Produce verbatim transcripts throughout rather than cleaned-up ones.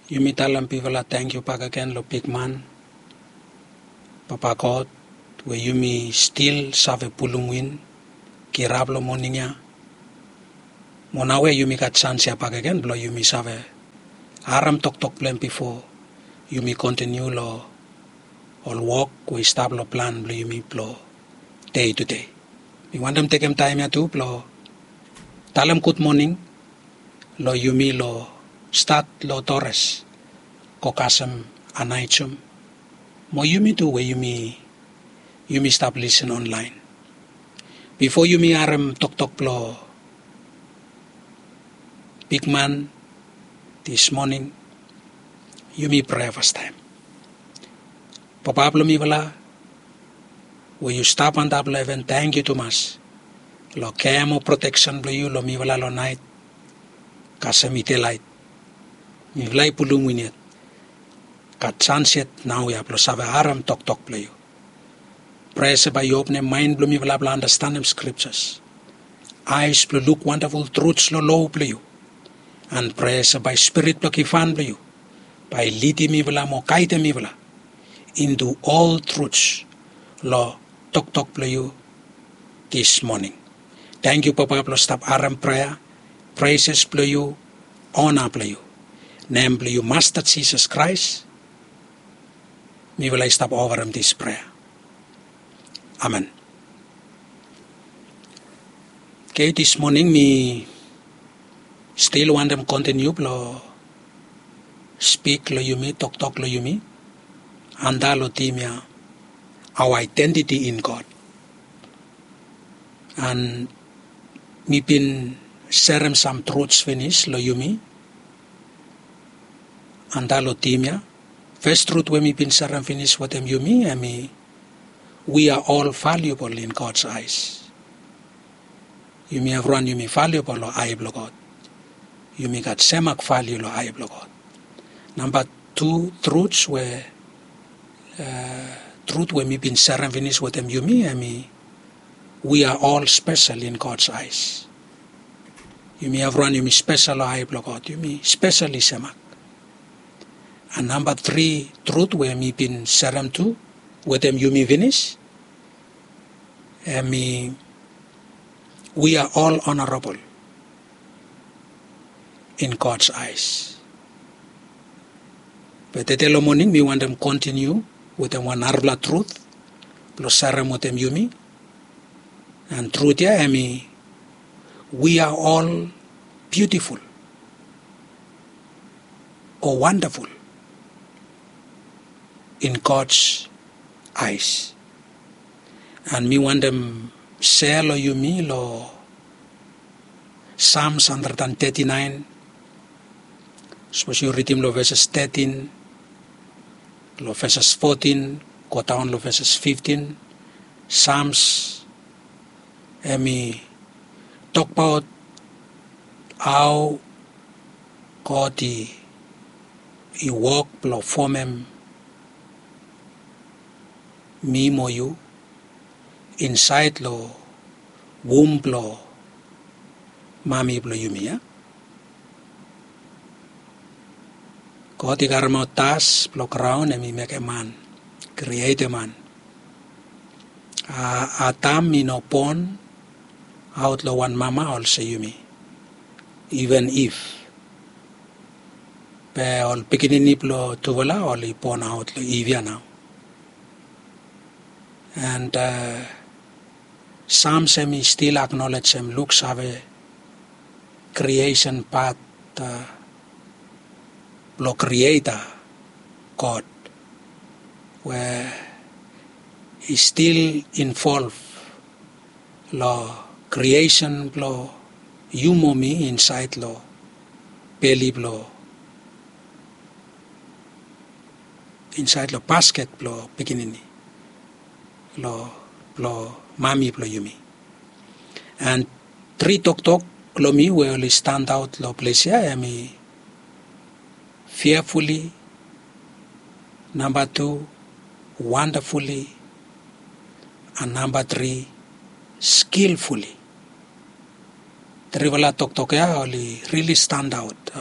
Yumi talem bigfala tangkiu bakegen long bigman, Papa God, we yumi stil save pulum win, kirap long moning ya. Mo naoia yumi gat sans ya bakegen blong yumi save harem toktok blong hem bifo yumi kontiniu long ol wok we i stap long plan blong yumi blong dei tudei. Mi wantem tekem taem ya tu blong talem gudmoning long yumi long stat long Torres go kasem Anaijum, mo yumi tu we yumi yumi stap lisin onlaen. Bifo yumi harem toktok blong bigman dis moning, yumi prea fastaem. Papa blong mifala, we yu stap antap long heven, tangkiu tumas long kea mo proteksen blong yu long mifala long naet kasem i delaet. Mifala i pulum win yet, gat sans yet naoia blong save harem toktok blong yu. Prea se bae yu openem maen blong mifala blong andastanem skriptas, aes blong luk wandaful truts long loa blong yu. An prea se bae Spirit blong givhan blong yu bae i lidim mifala mo gaedem mifala intu ol truts long toktok blong yu dis moning. Tangkiu Papa blong stap harem prea, preses blong yu, ona blong yu. Nem blong yu Masta Jisas Kraes mifala i stap ofarem dis prea. Amen. Oke, dis moning mi stil wantem kontiniu blong spik long yumi, toktok long yumi antap long tim ya, our identity in God. An mi bin serem sam truts finis long yumi antap long tim ya. Fes trut we mi bin serem finis wetem yumi hemi, we are all valuable in God's eyes. Yumi evriwan yumi valuable long ae blong God. Yumi gat semak valiu long ae blong God. Namba tu truts we, trut we mi bin serem finis wetem yumi hemi, we are all special in God's eyes. Yumi evriwan yumi spesel long ae blong God, yumi spesel i semak. An namba tri trut we mi bin serem tu wetem yumi finis hemi, we are all honorable in God's eyes. Be tede long moning mi wantem kontiniu wetem wan narafala trut blong serem wetem yumi. An trut ya hemi, we are all beautiful o wandaful in God's eyes. An mi wantem sea long yumi long Psalms hundred and thirty-nine. Sapos yu ridim long veses thirteen, long veses fourteen, godaon long veses fifteen. Psalms hemi tokbaot hao God i, i wok blong fomem mi mo yu insaed long wum blong mami blong yumi ya. God i karemaot das blong graon hemi mekem man, krietem man. Adam i no bon aot long wan mama olsem yumi, even Iv. Be ol pikinini blong tufala oli bon aot long Iv ya nao. And Psalms hemi stil aknolejem, luksave, kriesen pat blong Krieta God we i stil involv long kriesen blong yu mo mi insaed long beli blong, insaed long basket blong pikinini, long, blong mami blong yumi. And tri toktok long mi we oli standaot long ples ya hemi fearfully, namba tu, wonderfully, and namba tri, skillfully. Trifala toktok ya oli rili standaot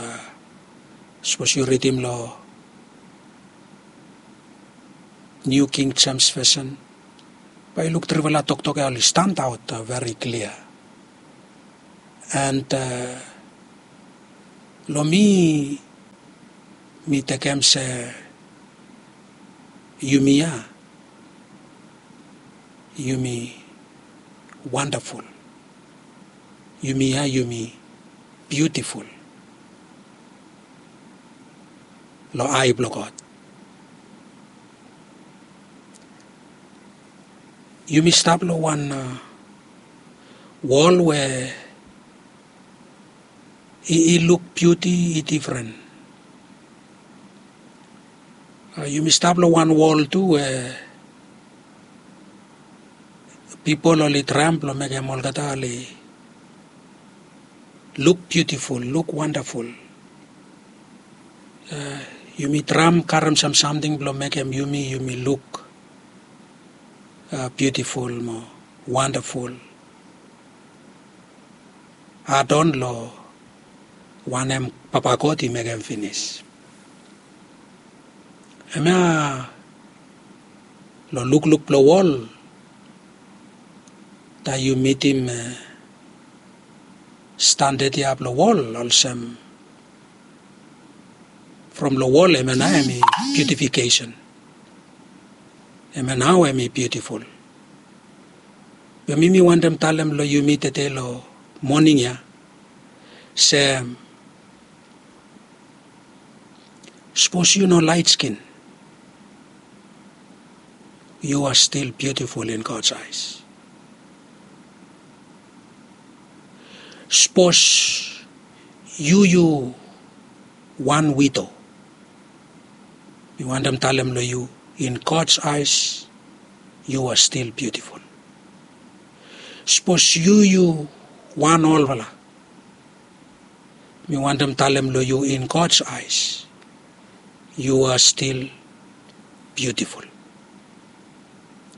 Sapos yu ridim long New King James Version, bae yu luk trifala toktok ya oli stand out very clear. And long mi, mi tekem se yumi ya, yumi wonderful. Yumi ya yumi beautiful long ai blong God. Yumi stap long wan wol we i luk biuti i difren. Yumi stap long wan wol tu we pipol oli traem blong mekem olgeta oli luk biutiful, luk wandaful. Yumi traem karem sam samting blong mekem yumi yumi luk biutiful mo wandaful. Adon long wanem Papa God i mekem finis. Hemia long lukluk blong wol, taem yu mitim standad ya blong wol olsem from long wol hemia nao hem i biutifikesen. Hemia nao hem i biutiful. Be mi mi wantem talem long yumi tede long moning ya se sapos yu no laet skin, yu a stil biutiful in God's eyes. Sapos yu yu wan wido, mi wantem talem long yu, in God's eyes yu a stil biutiful. Sapos yu yu wan olfala, mi wantem talem long yu, in God's eyes yu a stil biutiful.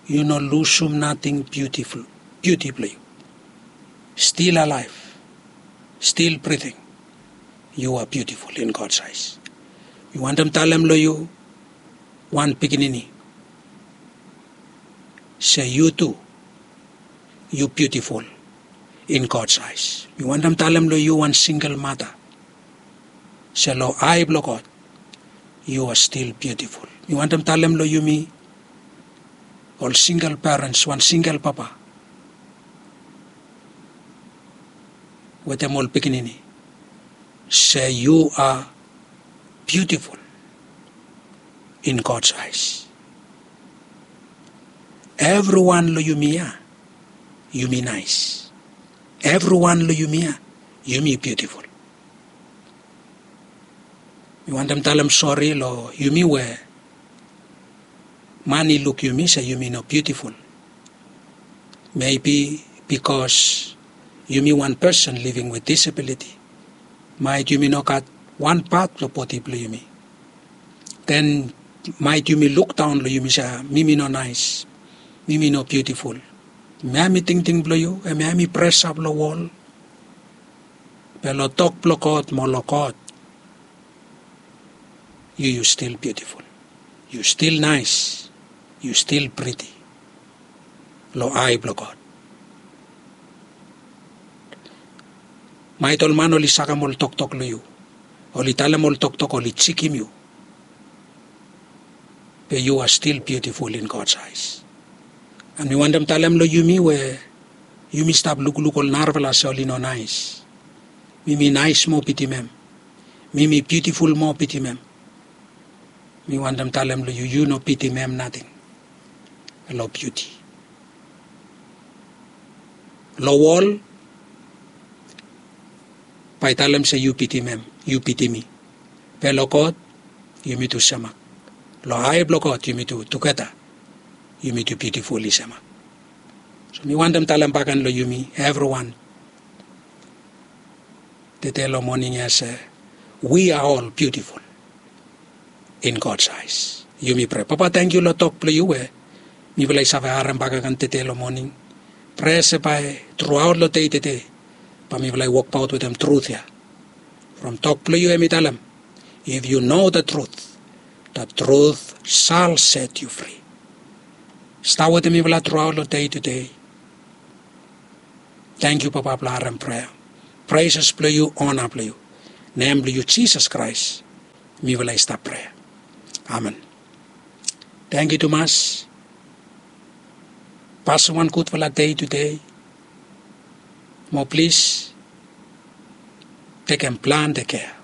Yu no lusum nating biutiful, biuti blong yu. Stil alaef, stil briting, yu a biutiful in God's eyes. Mi wantem talem long yu wan pikinini se yu tu yu biutiful in God's eyes. Mi wantem talem long yu wan singel mata se long ai blong God yu a stil biutiful. Mi wantem talem long yumi ol singel perens, wan singel papa wetem ol pikinini, se yu a biutiful in God's eyes. Evriwan long yumi ya yumi naes. Evriwan long yumi ya yumi biutiful. Mi wantem talem sori long yumi we man i luk yumi se yumi no biutiful. Mebi bikos yumi wan pesen living with disability, maet yumi no gat wan pat blong bodi blong yumi. Den maet yumi lukdaon long yumi se mi mi no naes, mi mi no biutiful. Hemia hem i tingting blong yu, hemia hem i presap long wol. Be long tok blong God mo long God, yu yu stil biutiful. Yu stil naes. Yu stil priti long ai blong God. Maet ol man oli sakem ol toktok long yu, oli talem ol toktok, oli jikim yu, be yu a stil biutiful in God's eyes. And mi wantem talem long yumi we yumi stap lukluk ol narafala se oli no naes. Mi mi naes moa bitim hem. Mi mi biutiful moa bitim hem. Mi wantem talem long yu, yu no bitim hem nating long biuti. Long wol bae i talem se yu bitim hem, yu bitim mi. Be long God yumi tu semak. Long ai blong God yumi tu tugeta yumi tu biutiful i semak. So mi wantem talem bakegen long yumi evriwan tede long moning ya se we are all beautiful in God's eyes. Yumi prea. Papa, tangkiu long tok blong yu we mifala i save harem bakegen tede long moning. Prea se bae truaot long dei tede bae mifala i wokbaot wetem trut ya. From tok blong yu hem i talem If you know the truth, the truth shall set you free. Stap wetem mifala truaot long dei tudei. Tangkiu papa blong harem prea. Preses blong yu, ona blong yu. Nem blong yu jisas kraes mifala i stap prea. Amen. Tangkiu tumas. Pasem wan gudfala dei tudei. Mo plis tekem plante kea.